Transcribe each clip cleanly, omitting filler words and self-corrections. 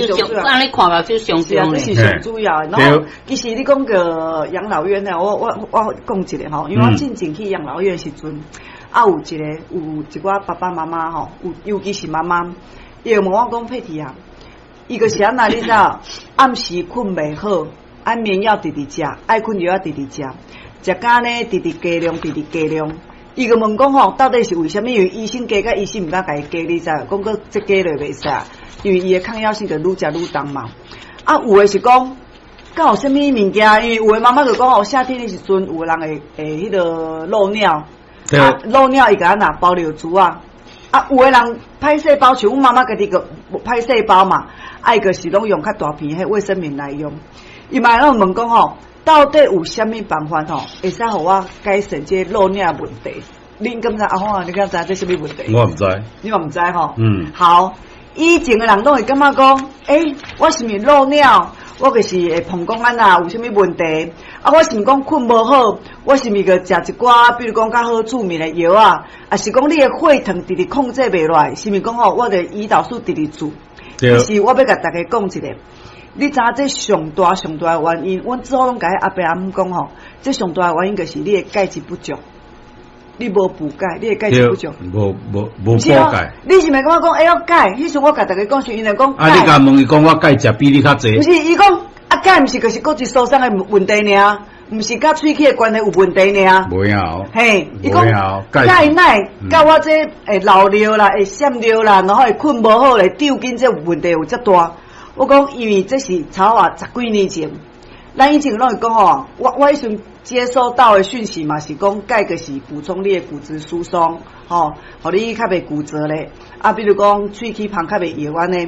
這上按呢看嘛，就上是啊，重這是上主要的。然後其實你講個養老院呢，我講一下吼，因為我進前去養老院時陣，啊有一個有一寡爸爸媽媽吼，有尤其是媽媽，伊會問我講佩蒂啊，伊就是按怎你知影？暗時睏袂好，安眠藥直直食，愛睏藥仔直直食，食甲呢直直加量，直直加量。伊就問講吼，到底是為啥物？因為醫生加甲醫生毋敢共伊加，你知無？講閣這加落袂使，因為伊的抗藥性就愈食愈重嘛。啊，有的是講，敢有啥物物件？因為有的媽媽就講吼，夏天的時陣，有的人會會彼個漏尿，啊，漏尿伊共按怎包尿珠啊。啊，有的人歹勢包，像阮媽媽家己個歹勢包嘛，啊，伊就是攏用較大片彼衛生棉來用。伊嘛會問講吼，到底有啥物辦法吼，會使予我改善這個漏尿問題？恁敢知阿紅啊？你敢知這啥物問題？我毋知。你嘛毋知吼？嗯。好，以前的人攏會感覺講，欸，我是毋是漏尿？我就是會膀胱按怎有啥物問題？啊，我是毋是講睏無好？我是毋是閣食一寡，比如講較好助眠的藥啊？啊是講你的血糖直直控制袂落來？是毋是講吼，我的胰島素直直注？其實我欲共大家講一下。你知影這上大上大的原因？阮之後攏共彼阿伯阿姆講吼，這上大的原因就是你的鈣質不足，你無補鈣，你的鈣質不足，無無無補鈣。你是毋是感覺講會曉鈣？彼時我共大家講是，𪜶就講。啊！你共問伊講我鈣食比你較濟。毋是，伊講啊鈣毋是就是骨質疏鬆的問題爾，毋是佮喙齒的關係有問題爾。無影哦。嘿，伊講鈣奶佮我這會漏尿啦，會閃尿啦，然後會睏無好咧，抽筋這問題有遮大。我講，因為這是超過十幾年前，咱以前攏會講吼，我彼陣接收到的訊息嘛是講，鈣就是補充你的骨質疏鬆，吼，予你較袂骨折咧。啊，比如講喙齒旁較袂搖按呢。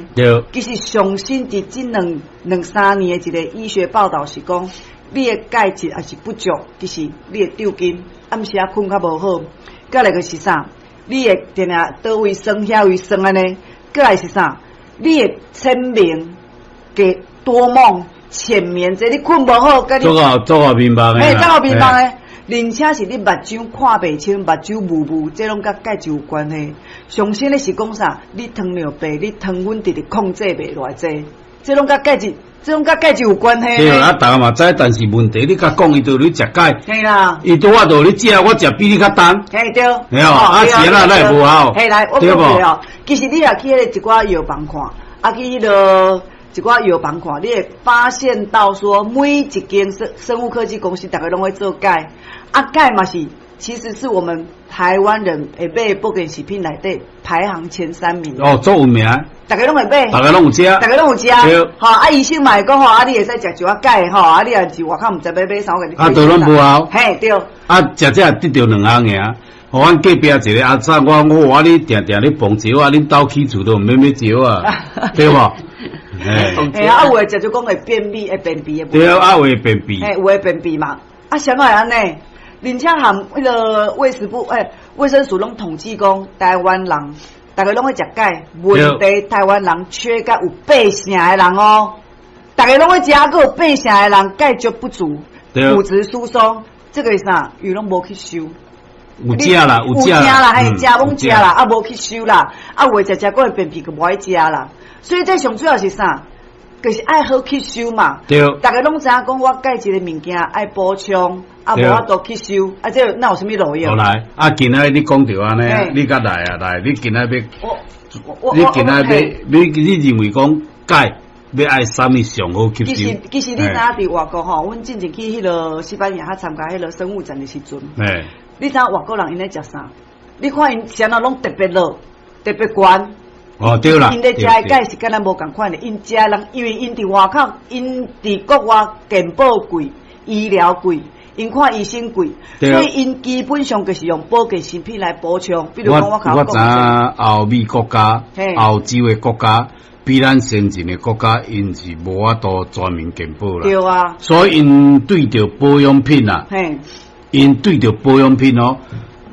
其實上新佇這兩兩三年的一個醫學報道是講，你的鈣質也是不足，其實你會抽筋，暗時仔睏較無好。閣來就是啥？你會定定佗位酸遐位酸按呢？閣來是啥？你會淺眠。給多夢淺眠，這你睏無好，佮你做個做個眠夢的，嘿，做個眠夢的，而且是你目睭看袂清，目睭霧霧，這攏佮鈣質有關係。上新的是講啥？你糖尿病，你糖分直直控制袂落來，這這攏佮鈣質，這攏佮鈣質有關係。對啊，逐家嘛知，但是問題你共講伊就咧食鈣，嘿啦，伊拄仔就咧食，我食比你較重。嘿對，對哦，啊是按怎會無效？嘿來，我講一下哦，其實你若去彼個一寡藥房看，啊去彼個一寡藥房看，你會發現到說，每一間生物科技公司，逐家攏會做鈣，啊鈣嘛是，其實是我們台灣人會買保健食品內底排行前三名。哦，足有名。逐家攏會買。逐家攏有食。逐家攏有食。吼，啊醫生嘛會講吼，啊你會使食一寡鈣吼，啊你若是外口毋知欲買啥，我共你。啊，都攏無效。嘿對。啊，食這得著兩項爾。予阮隔壁一個阿嫂，我我我你定定咧磅石仔，恁兜起厝都毋免買石仔，對無？嘿啊，有的食就講會便秘，會便秘的。對啊，有會便秘。嘿，有會便秘嘛？啊，啥會按呢？而且含彼個衛食部，欸，衛生署攏統計講，台灣人逐家攏愛食鈣，問題台灣人缺鈣有八成的人哦，逐家攏愛食，閣有八成的人鈣質不足，骨質疏鬆，這個是啥？伊攏無吸收。有食啦，有食啦，嘿，食攏食啦，啊，無吸收啦，啊，有的食食閣會便秘，閣無愛食啦。所以這上主要是啥？就是愛好吸收嘛。逐家攏知影講，我鈣質的物件愛補充，啊，無法度吸收，啊，這哪有啥物路用？好來，啊，今仔你講著按呢，你較來啊來，你今仔欲，你今仔欲，你認為講鈣欲愛啥物上好吸收？其實你知影佇外國吼，阮進前去彼個西班牙，參加彼個生物展的時陣，你知影外國人𪜶咧食啥？你看𪜶啥物攏特別老，特別懸。哦，對啦。𪜶咧食的鈣是佮咱無仝款的，𪜶食人，因為𪜶佇外口，𪜶佇國外健保貴，醫療貴，𪜶看醫生貴，所以𪜶基本上就是用保健食品來補充。比如講，我我知影歐美國家、歐洲的國家比咱先進的國家，𪜶是無法度全民健保啦。對啊。所以𪜶對著保養品啊，𪜶對著保養品哦，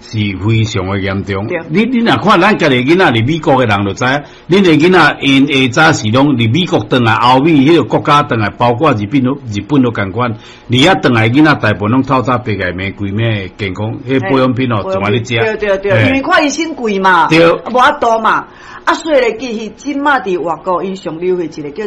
是非常的嚴重。你若看咱家己囡仔佇美國的人就知影，恁的囡仔𪜶下早是攏佇美國轉來，歐美彼個國家轉來，包括日本都日本都仝款。佇遐轉來囡仔大部分攏透早爸共罵規暝健康，彼保養品哦，從來咧食。對對對，因為看醫生貴嘛，無法度嘛。啊，所以咧，其實這馬佇外國，𪜶上流行一個叫做。